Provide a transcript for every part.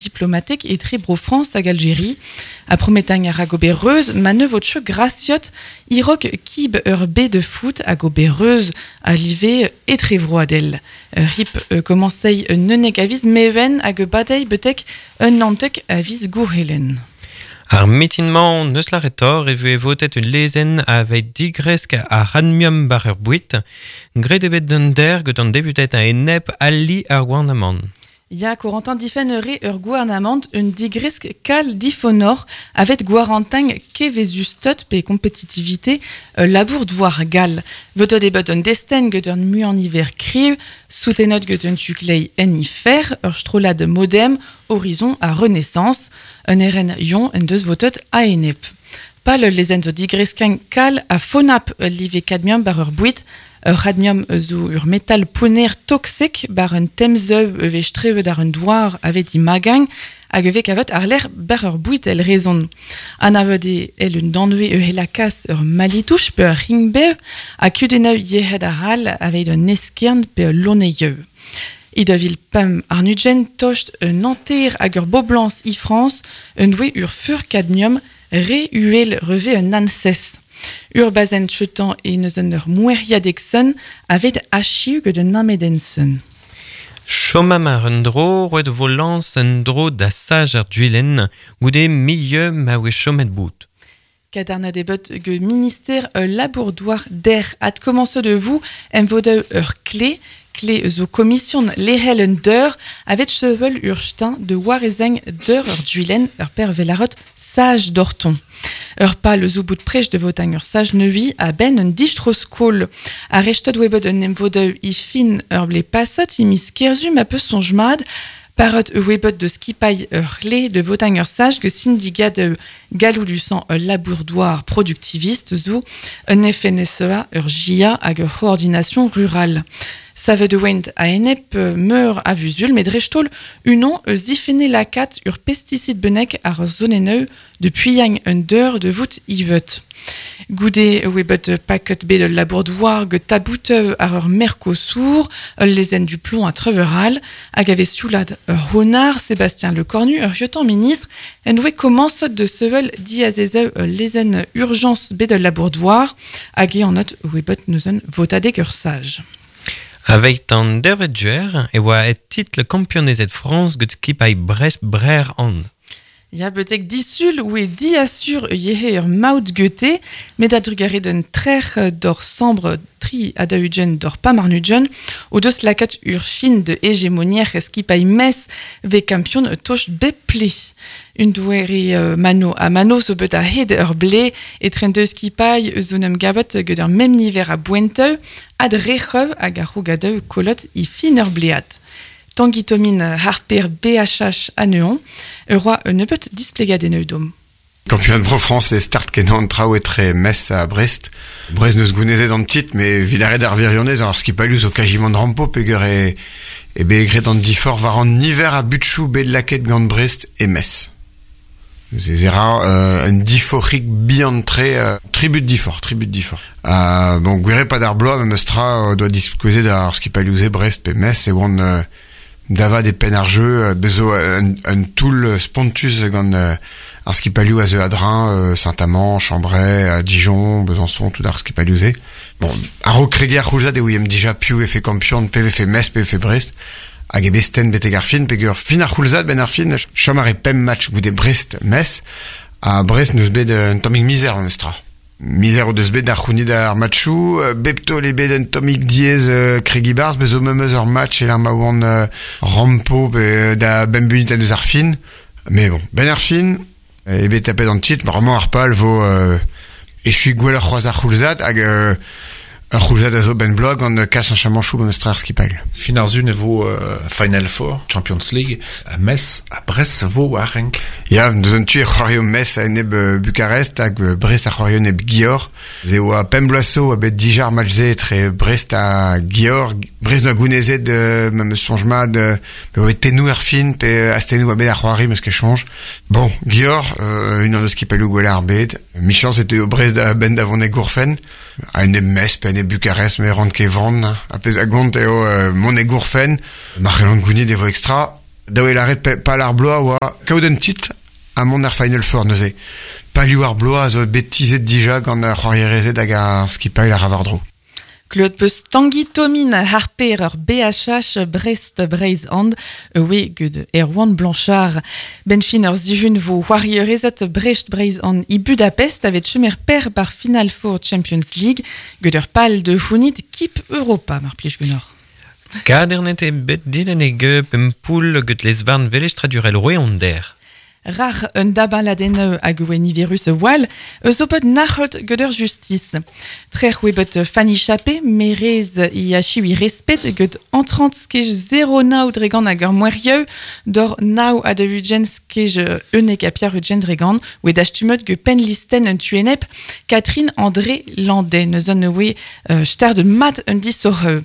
Diplomatek etre Bro-Frañs hag Aljeri, ha prometañ a ra gober reuz ma ne vo tcheu grasiot e-raok kib ur bed foot hag ober reuz a live etrevroadel. Ur hip komañsei un 11 a viz Meven hag badei betek un 19 a viz Gourhelen. Ar mitin-mañ n'eus lâret e voe votet ul lezenn aveit digresk ar c'hadmium war ur boued. Graet eo bet d'un der gant an deputed a-enep ali ar gouarnamant. Ya, Corentin difenn ur ur gouarnamant un digresk kal difonor avet gwarantañ kevezusted pe kompetitivite labour douar gall. Votet eo bet un destenn get un muiañ-niver kriv, soutenot get un tu-kleiz en ifer, ur strollad Modem, Horizon ha Renaissance, un eren yon en deus votet a-enep. Pal ul lezenn zo digreskañ kal ha fonap ul live kadmium war ur boued, ur c'hadmium zo ur metal pounner toksek war un temzeù e vez strevet àr un douar avet imagañ hag e vez kavet àr-lerc'h war ur boued èl rezon. Anavet eo èl un danvez e lakaas ur malitouch pe ur ring-bev ha kudennoù yec'hed arall aveit un eskern pe ul loneioù. E 2005 àr-ugent tost un hanter ag ur boblañs e Frañs en doe ur feur kadmium re uhel reve un ANSES. Ur bazenn cheutañ e neus un ur moueriadeg-sun avet achiu get un amedenn-sun. Chomam ar un dro, roet vo lañs un dro da saj ar duilenn goude milieu ma oe chomet bout. Kadarnaet eo bet get minister ul labour-douar der adkomañset de vous em vodeu ur kle, kle zo komision lec'hel un deur avet sevel ur stein de warezeng deur ur duilenn ur per velarot sage d'orton. Ur pal zo bout prech de votañ ur sage neui a ben un distro-skol. Ar restot oe bet un emvodeu i fin ur ble pasat i miz kerzu ma peus soñj Parot oe bet de skipailh ur c'hle de votañ ur sage ge syndikat galloudusant ul labour-douar productiviste zo un FNSEA ur GIA hag ur c'hoordination rurale. Savet oent a-enep meur a vuzul, met dreist-holl unan eus zifenne lakaat ur pesticid bennak ar zonenneu de puilhañ un deur de vout ivet. Goude oe bet paket bet ul labour-douar get tabouteu ar ur Mercosur, ul lezenn du plomb a treuveral, hag a vez sioulad ur honard Sébastien Lecornu, ur yotan ministre, en doe komañset de sevel diazezeu ul lezenn urgence bet ul labour-douar, hag eo an not oe bet neuzen votadeg ur sage. Aveit an dervet duer e oa et titl kampionezed Frañs get skipailh Brest Brer an. Ya, betek disul oe diasur yehe ur maout gete, met a drugarez d'un trec'h d'or sambr tri a daou-ugent d'or pemp àr-ugent, o deus lakaat ur fin de hégémonier skipailh Metz ve kampion toch bep ple. Un doare mano ha mano zo bet a-hed ur ble etre an deus skipailh eus un emgavet get ur mem niver a boenteu ad rec'heu hag ar c'hrogadeu kolot i fin ur blead. Tanguy Thomin harper BHH anezhañ, ur roa un nebeut displegadennoù dom. Kampion Bro France e start kenan traoù etre Metz ha Brest. Brest neus gounezet an titl, met evit aret ar wirionez ar skipailhoù zo kajimant rampo peogwir e, e bet graet an diforc'h war an niver a butchoù bet lakaet gant Brest e Metz. Neuze ez era un diforc'hig bihan-tre, tribut diforc'h, tribut diforc'h. Bon, gwir eo pad ar bloaz memes tra doa diskouezet ar skipailhoù-se Brest pe Metz e oant da vat e penn ar jeu, bez zo un, un toull spontus gant ar skipailhoù a zeu a-dreñv, Saint-Amand, Chambray, Dijon, Besançon, tout ar skipailhoù-se. Bon, a-raok kregiñ ar c'houlzad e ouiemp dija piv vefe kampion, pe vefe Metz, pe vefe Brest, hag e bet stenn betek ar fin, peogwir fin ar c'houlzad, benn ar fin, chom a rae pemp match goude Brest-Metz, ha Brest n'eus bet un tammig mizer memes tra. Mizer o deus bet da c'hounit ar matchoù, bep taol eo bet un tammig diaes kregiñ 'barzh, bez zo memes ur match e-lec'h ma oant rampo pe da bemp munutenn eus ar fin. Mais bon, benn ar fin, eo bet tapet an titl, bremañ ar pal vo echuiñ gwelloc'h c'hoazh ar c'houlzad hag ur c'houlzad a zo benn bloaz gant kalz cheñchamanchoù gant eus tra ar skipailh. Fin ar sun e vo Final Four, Champions League, Metz ha Brest vo war renk. Ya, deus un tu e c'hoario Metz a-enep Bucarest hag Brest a c'hoario enep Győr. Se oa pemp bloaz zo oa bet dija ar match-se etre Brest ha Győr. Brest 'noa gounezet ma 'm eus soñj mat pe oa bet tennoù er fin pe astennoù oa bet ar c'hoari 'm eus ket soñj. Bon, Győr, unan eus skipailhoù gwellañ ar bed. Michañs e teuio Brest a-benn da vont e gourfenn. A-enep Metz pe a-enep Bucarest, me ran ket van. Ar pezh a gont eo mont e gourfenn. Ma c'hellan gounit e vo ekstra. Daou e laret pal ar bloaz oa kaout un titl a mont ar Final Four neuze. Palioù ar bloaz a zo bet tizhet dija gant ar c'hoarierezed hag ar skipailh ar Ravardro. Kleut peus Tanguy Tomin harper ur BHH Brest Breizh and oe gud Erwan Blanchard. Ben fin ur zihun vo c'hoarierezed Brest Breizh and i Budapest avet chemer per bar Final Four Champions League gud ur pal de founit Kip Europa mar plij gunor. Kadernet e bet dilen e ge pempoul gud lesvarn velestradurel roeonder. Rar un dabaladenneu hag oe niverus wal, eus opet nac'hot gant ur justice. Trec'h oe bet Fanny Chappé, merez i achiu i respet gant entrant skej 0 nao dregan hag ur moerieu, dor nao a de ugen skej unek a piar ugen dregan, oe dastumet ge pen listen un tuenep, Catherine André Landais, neus an oe stard mat un disoreu.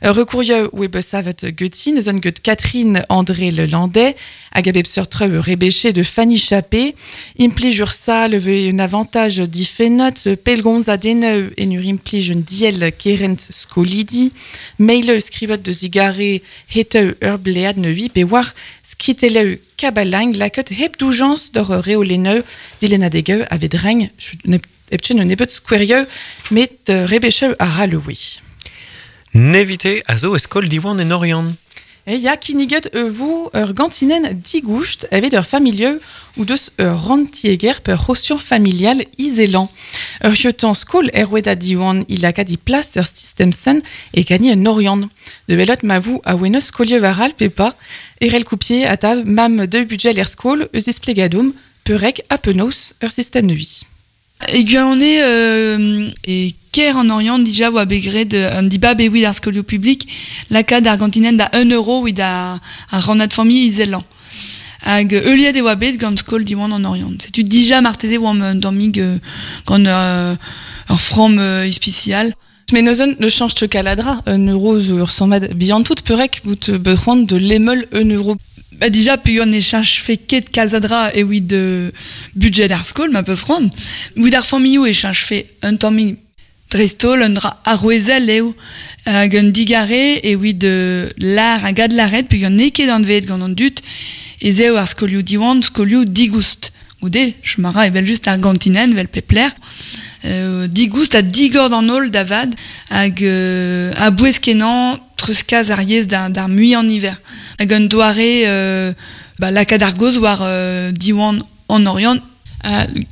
Recourieu oe bet savet geti, neus an get Catherine André Le Landais, hag a bep seurt treu rebeché de Fanny Chappé, implij ur sal ve un avantage difenot, pelgonz a deneu en ur implij un diel kerent skolidi, meileu skribot de zigare heteu ur blead ne ui pe war skriteleu kabalang lakot hep doujans d'ur reoleneu dilenadegeu avet reng epchen un ebet skouerieu met rebecheu a raleoui. Nevite a zo eskol diwan en Orient. E ya kinniget vo ur gantinen digoust evet ur familieu ou deus ur rantieger per rosion familial izelan. Ur hiotan skol erwed a diwan il a di plas ur system sen e gani un Orient. De belot ma vou a weneus skolieu varal pe pa, erel coupier a tav mam de budget er skol eus esplegadoum perek a penaos ur system neui. E gant e ker an Orient dija oa begred an diba be wid ar skolioù publik lakaat ar gantinen da 1 euro wid ar rannad familh izelan. Hag euliet e oa bet gant skol diwan an Orient. Setu dija marteze oa un dormig gant ur from ispicial. Mais neuzen ne change te kaladra, un euro zo ur sammad bihan tout perek bout bec'hoant de lemel un euro. Ba dija peogwir ne cheñch fe ket kalzadra e wid budget ar skol ma peus c'hoant. Wid ar familhoù e cheñch fe un tammig dreist-holl un dra arouezel eo hag un digare e wid lar hag adlaret peogwir n'eo ket anveet gant an dud ez eo ar skolioù diwan skolioù digoust. Goude, chom a ra evel just ar gantinen vel pepler. Digoust ha digor d'an holl da vad hag a bouez kenañ treuzkas ar yezh d'ar mui an hiver. Hag un doare ba, lakaat ar goz war diwan an Orient.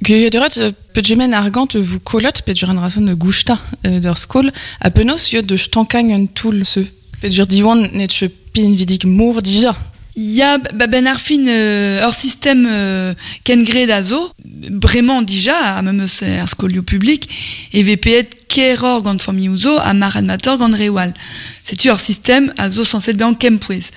Geuret, petjemen argant vous kolot, petjur an rason de gousta d'ur skol, a penaos yod de stankagn un toul se. Petjur diwan net pin vidik mour dija. Ya, ba ben ar fin ur system ken gred a zo, bremañ dija, a memes ar skolioù publik, e VPet keror gant familhoù zo ha marc'hadmator gant rewal. Setu ur system a zo sañset bezañ kempouez.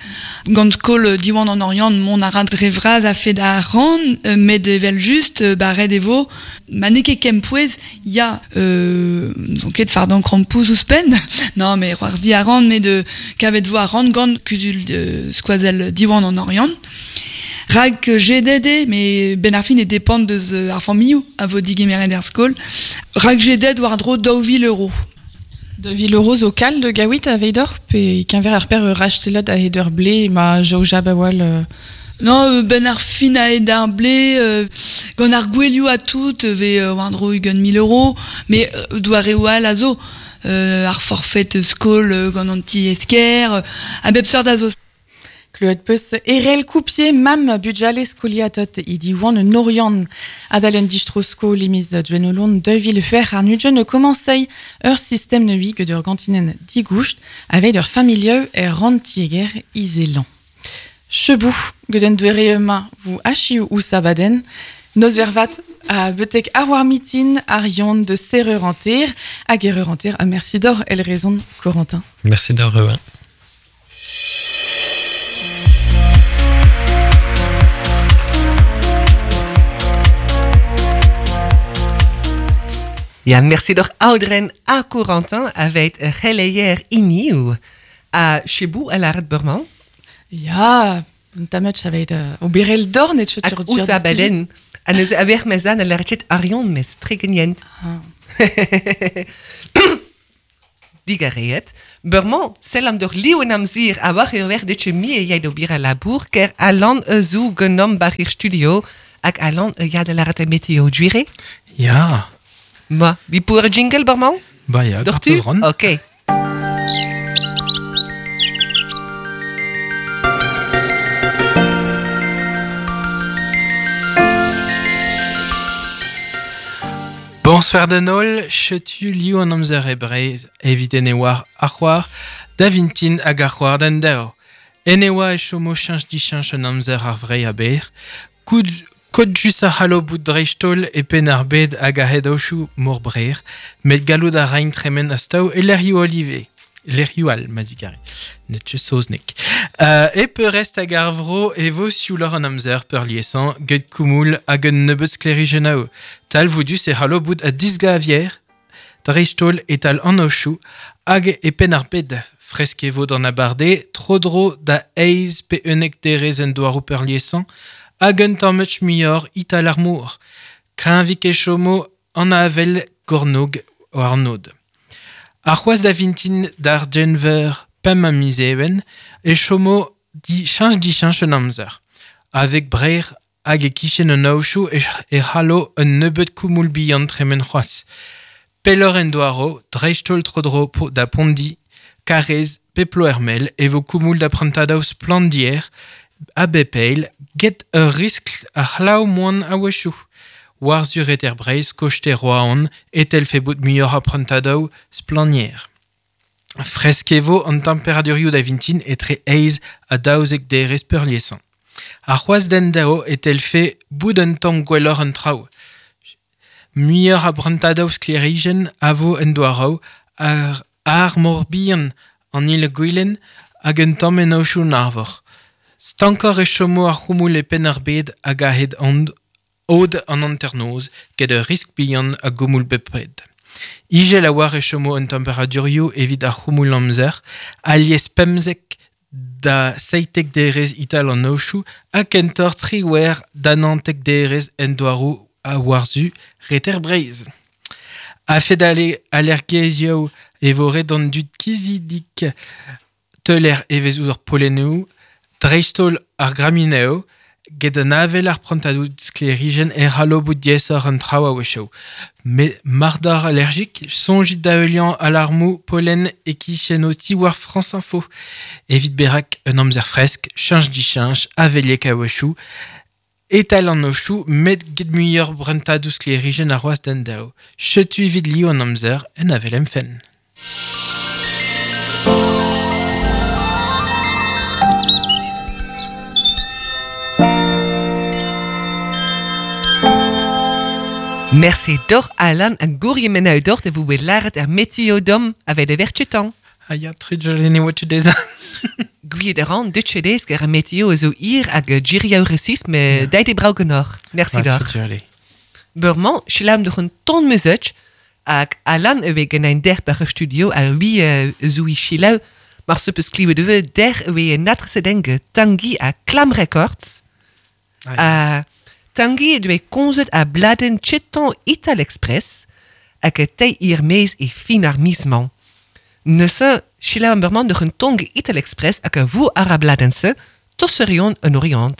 Gant skol Diwan an Orient mont a ra dre vras a fed ar ran, met evel just, ba ret e vo, ma n'eo ket kempouez, ya, n'on ket fardan krampouz ouzhpenn, non mais c'hoarzhi a ran, met kavet vo ar ran gant kuzul skoazell Diwan an Orient. Rak GDD, mais ben ar fin e dépend deus ar familhoù a vo digemeret er skol. Rak GDD war dro 2000 euros. 2000 euros zo kal de gawit a veidor, pe kenver ar per rachtelot a heder ble ma jaoja bawal... Non, ben ar fin a hed ar ble, gant ar gwelioù a tout, ve war dro ugent 1000 euros, mais doare oal a zo, ar forfait skol gant an ti esker, a bep seurt a zo. Kleut peus erel coupier mam budjale skoliatot i diwan un Orient. Adal un distro skol emiz dwenolon 2000 fer ar nudjen komansei ur system ne ui ur gantinen digoust avec ur familieu er rantieger izelan. Chebou geden duere ma vous achiou ou sabaden Nos vervat a betek ar mitin ar yon de serreur anter hag erreur anter a merci d'or el raison Corentin. Merci d'or. Ja, merci door ouderen a Corentin avec geleyer iniu a Chebou a laret Burman. Ja, tamet avec o berel dorn et chut Ousa baden. A neus aver mezan a laret arion mes tregenient. Digareet. Berman, sell am doch liu en amzir a war ur wer ditche mi e jai do bira labour, ker Alan zo genom bar ir studio, hag Alan ya de laret a meteo juire? Ja. Ma, di pour jingle, Berman? Ba ya, Doch tu? Ok. Bonsoir danol, chetu liu an amzer e breiz evit ene war ar c'hoar, da vintin hag ar c'hoar d'an deo. Ene oa e chomo chinch dichinch an amzer ar vrei a ber, koud kod jus a c'hallo bout dreistol e pen ar bed hag a hed aochou mor brer, met gallout a rain tremen astaou e lerioù olive. Lerioù al, ma digare. Net saoznek. E peurrest hag ar vro e vo sioulor an amzer peurliesañ, get koumoul hag un nebeud sklerijennaou. Tal voudus e c'hallo bout a disglavier, dreistol etal an aochou, hag e pen ar bed. Fresk e vo d'an abarde, tro-dro da eiz pe unnek derez en doarou peurliesañ, hag un tamm muioc'h ital ar mor. Kreñvik e chomo an avel gornog war an nod. Ar c'hoaz da vintin d'ar Genver pemp a miz even, e chomo di chinch di chinch an amzer. Avec brer hag e kichen an aochou e c'hallo un nebeud koumoul bihan tremen c'hoaz. Pellor en doaro, dreistol tro-dro da Pondi, Karez, Peplo Hermel, e vo koumoul da prantadaou splandier, a bepeil, get ur riskl a c'hlaou moan a wechou. War zur et er breiz, kochte roaon, etel fe bout muioc'h a prantadaou splanier. Fresk e vo an temperadurioù da vintin etre eiz a daouzek derez peurliesañ. Ar c'hoaz den dao etel fe bout un tamm gwelloc'h an traoù. Muioc'h a brantadaou sklerijenn a vo en doaraou ar mor bihan an il gwilen hag un tamm en aochou an arvor. Stankor e chomo ar c'houmoul e penn ar bed hag a hed an od an hanternoz get ur risk bihan a goumoul bepred. Igel a war e chomo an temperadurioù evit ar c'houmoul amzer, alies pemzek da seitek derez ital an aochou ha kentor triwer da nantek derez en doarou a warzu reter breiz. A fet ale allergezioù e vo ret an dud kizidik teuler evez ouzh ar polennoù, dreistol ar gramineo, get an avel ar prantadou sklerijenn e c'hallo bout diaesoc'h an traoù a-wechoù. Met mar d'ar allergik, soñjit da heuliañ alarmoù pollen e kichen o ti war France Info. Evit berak un amzer fresk, cheñch dichinch, aveliek a-wechoù, etal an aochou, met get muioc'h brantadou sklerijenn ar c'hoazh d'an daou. Chetu evit liv an amzer en avel em fenn. Merci doch Alan en gourje men uit dort en vous laret er meteodom avec de wertjetan. Ah ya, trudjel ne oa tu dezhañ. Gouiet de ran, dutche dez, ker ar meteo zo ir hag giriaou resis, me deit e brau genor. Merci doch. Trudjel. Beurman, schlam doch un ton muzetch, hag Alan ewe gen ein derbacher studio a wie zoui chilau, mar se peus kliwe de der ewe natre denke Tanguy a Clam Records. Ah, A Tanguy doe konzet a bladen chetan Ital Express, hag e tei ir mez e fin ar misman. Neuze, chilau an beurman doch un tong Ital Express hag a vou ar a bladense, tosserion un orient.